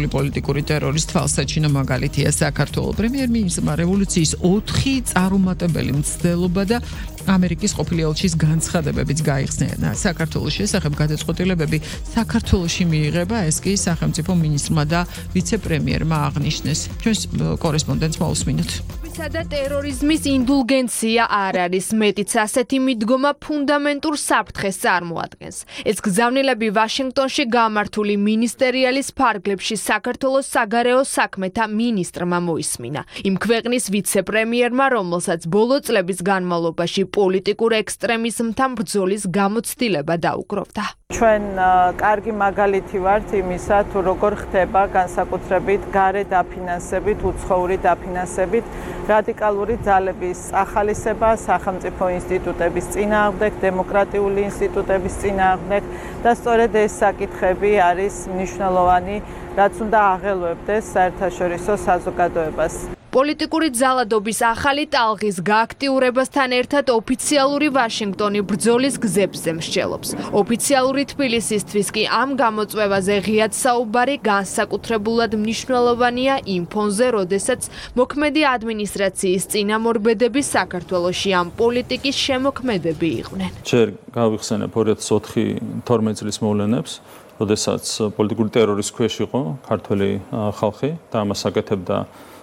პოლიტიკური ტერორის თვალსაჩინო მაგალითია საქართველოს პრემიერ-მინისტრმა რევოლუციის 4 წარუმატებელი მცდელობა და ამერიკის ყოფილი ელჩის განცხადებებიც გაიხსნა. საქართველოს შესახებ გადაწყვეტილებები საქართველოში მიიღება, ეს კი სახელმწიფო მინისტრმა და ვიცე-პრემიერმა აღნიშნეს. ჩვენს კორესპონდენტს მოусმინოთ. და ტერორიზმის ინდულგენცია არ არის, მეტიც ასეთი მიდგომა ფუნდამენტურ საფრთხეს წარმოადგენს. ეს გზავნილები ვაშინგტონში გამართული მინისტერიალის ფარგლებში საქართველოს საგარეო საქმეთა მინისტრმა მოისმინა. იმ ქვეყნის ვიცე-პრემიერმა, რომელსაც ბოლო წლების განმავლობაში პოლიტიკურ ექსტრემიზმთან ბრძოლის გამოცდილება დაუკროვდა. ჩვენ კარგი მაგალითი ვართ იმისა, თუ როგორ ხდება განსაკუთრებით გარე დაფინანსებით, უცხოური დაფინანსებით რადიკალური ძალების ახალისება სახელმწიფო ინსტიტუტების წინააღმდეგ, დემოკრატიული ინსტიტუტების წინააღმდეგ და სწორედ ეს საკითხები არის მნიშვნელოვანი, რაც უნდა აღელვებდეს საერთაშორისო საზოგადოებას. პოლიტიკური ძალადობის ახალი ტალღის გააქტიურებასთან ერთად ოფიციალური ვაშინგტონი ბრძოლის გზებზე მსჯელობს. ოფიციალური თბილისისთვის კი ამ გამოწვევაზე ღიად საუბარი განსაკუთრებულად მნიშვნელოვანია იმ ფონზე, როდესაც მოქმედი ადმინისტრაციის წინამორბედები საქართველოში ამ პოლიტიკის შემოქმედები იყვნენ. ჯერ გავიხსენებ 2004-12 წლის მოვლენებს, როდესაც პოლიტიკური ტერორის ქვეშ იყო ქართველი ხალხი და ამას აკეთებდა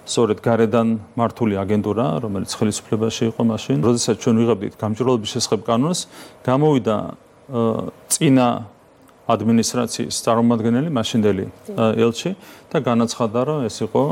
სწორედ გარედან მართული აგენტურა, რომელიც ხელისუფლებაში იყო მაშინ. როდესაც ჩვენ ვიღებდით გამჭვირვალობის შესახებ კანონს, გამოვიდა წინა ადმინისტრაციის წარმომადგენელი, მაშინდელი ელჩი და განაცხადა, რომ ეს იყო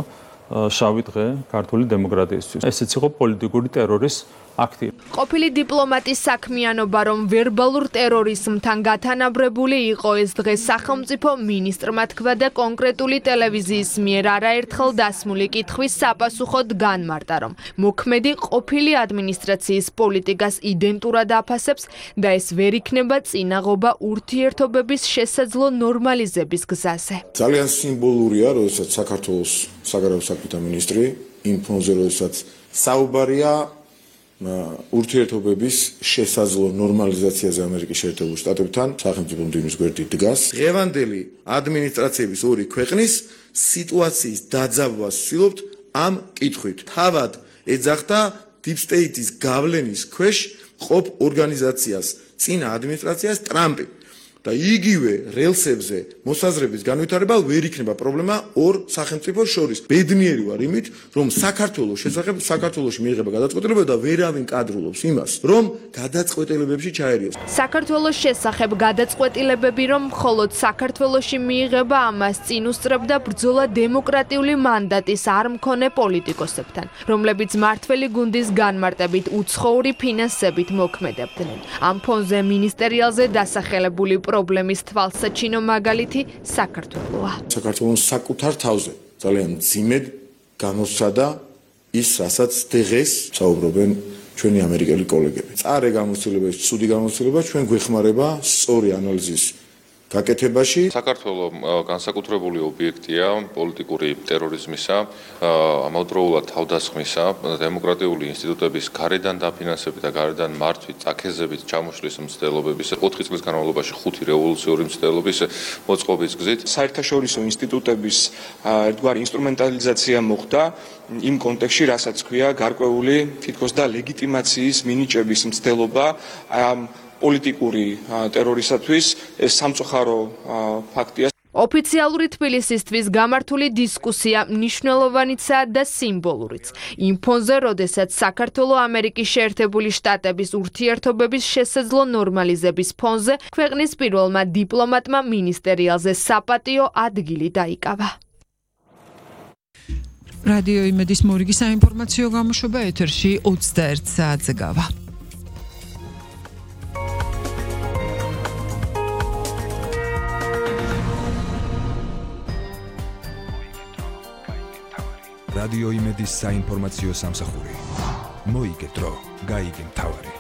შავი დღე ქართული დემოკრატიისთვის. ესეც იყო პოლიტიკური ტერორის აქტი. ყოფილი დიპლომატის საქმიანობა, რომ ვერბალურ ტერორიზმთან გათანაბრებული იყო ეს დღე სახელმწიფო მინისტრმა თქვა და კონკრეტული ტელევიზიის მიერ არაერთხელ დასმული კითხვის საპასუხოდ განმარტა, რომ მოქმედი ყოფილი ადმინისტრაციის პოლიტიკას იდენტურად აფასებს და ეს ვერ იქნება წინაღობა ურთიერთობების შესაძლო ნორმალიზების გზაზე. ძალიან სიმბოლურია, როდესაც საქართველოს საგარეო საქმეთა მინისტრი იმ ფონზე, როდესაც საუბარია ურთიერთობების შესაძლო ნორმალიზაციაზე ამერიკის შეერთებულ შტატებთან სახელმწიფო მდივნის გვერდით დგას. დღევანდელი ადმინისტრაციების ორი ქვეყნის სიტუაციის დაძაბვას ვცდილობთ ამ კითხვით. თავად ეძახდა Deep State-ის გავლენის ქვეშ ყოფ ორგანიზაციას წინა ადმინისტრაციას ტრამპი. და იგივე რელსებზე მოსაზრების განვითარება ვერ იქნება პრობლემა ორ სახელმწიფოს შორის. ბედნიერი ვარ იმით, რომ საქართველოს შესახებ საქართველოში მიიღება გადაწყვეტილებები და ვერავინ კადრულობს იმას, რომ გადაწყვეტილებებში ჩაერიოს. საქართველოს შესახებ გადაწყვეტილებები, რომ მხოლოდ საქართველოში მიიღება, ამას წინ უსწრებდა ბრძოლა დემოკრატიული მანდატის არ მქონე პოლიტიკოსებთან, რომლებიც მართველი გუნდის განმარტებით უცხოური ფინანსებით მოქმედებდნენ. ამ ფონზე მინისტერიალზე დასახელებული პრობლემის თვალსაჩინო მაგალითი საქართველოა. საქართველოს საკუთარ თავზე ძალიან მძიმედ გამოსცადა ის, რასაც დღეს საუბრობენ ჩვენი ამერიკელი კოლეგები. წარე გამოცდილება, ცუდი გამოცდილება ჩვენ გვეხმარება სწორი ანალიზის გაკეთებაში. საქართველო განსაკუთრებული ობიექტია პოლიტიკური ტერორიზმისა, ამავდროულად თავდასხმისა, დემოკრატიული ინსტიტუტების გარედან დაფინანსებით და გარედან მართვით, წაქეზებით ჩამოშლის მცდელობების, 4 წლის განმავლობაში 5 რევოლუციური მცდელობის მოწყობის გზით. საერთაშორისო ინსტიტუტების ერთგვარი ინსტრუმენტალიზაცია მოხდა იმ კონტექსტში, რასაც ქვია გარკვეული თითქოს და ლეგიტიმაციის მინიჭების მცდელობა პოლიტიკური ტერორისათვის. ეს სამწუხარო ფაქტია. ოფიციალური თბილისისთვის გამართული დისკუსია მნიშვნელოვანიცაა და სიმბოლურიც. იმ ფონზე, როდესაც საქართველოს ამერიკის შეერთებული შტატების ურთიერთობების შესაძლო ნორმალიზების ფონზე ქვეყნის პირველმა დიპლომატმა მინისტერიალზე საპატიო ადგილი დაიკავა. რადიო იმედის მორიგი საინფორმაციო გამოშვება ეთერში 21 საათზე გავა. რადიო იმედის საინფორმაციო სამსახური. მოიგე დრო, გაიგე მთავარი.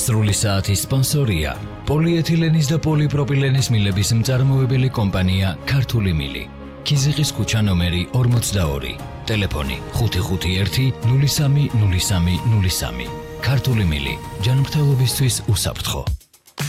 სრული საათის სპონსორია პოლიეთილენის და პოლიპროპილენის მილების მწარმოებელი კომპანია ქართული მილი. ქიზიყის ქუჩა ნომერი 42. ტელეფონი 551 030303. ქართული მილი. ჯანმრთელობისთვის უსაფრთხო.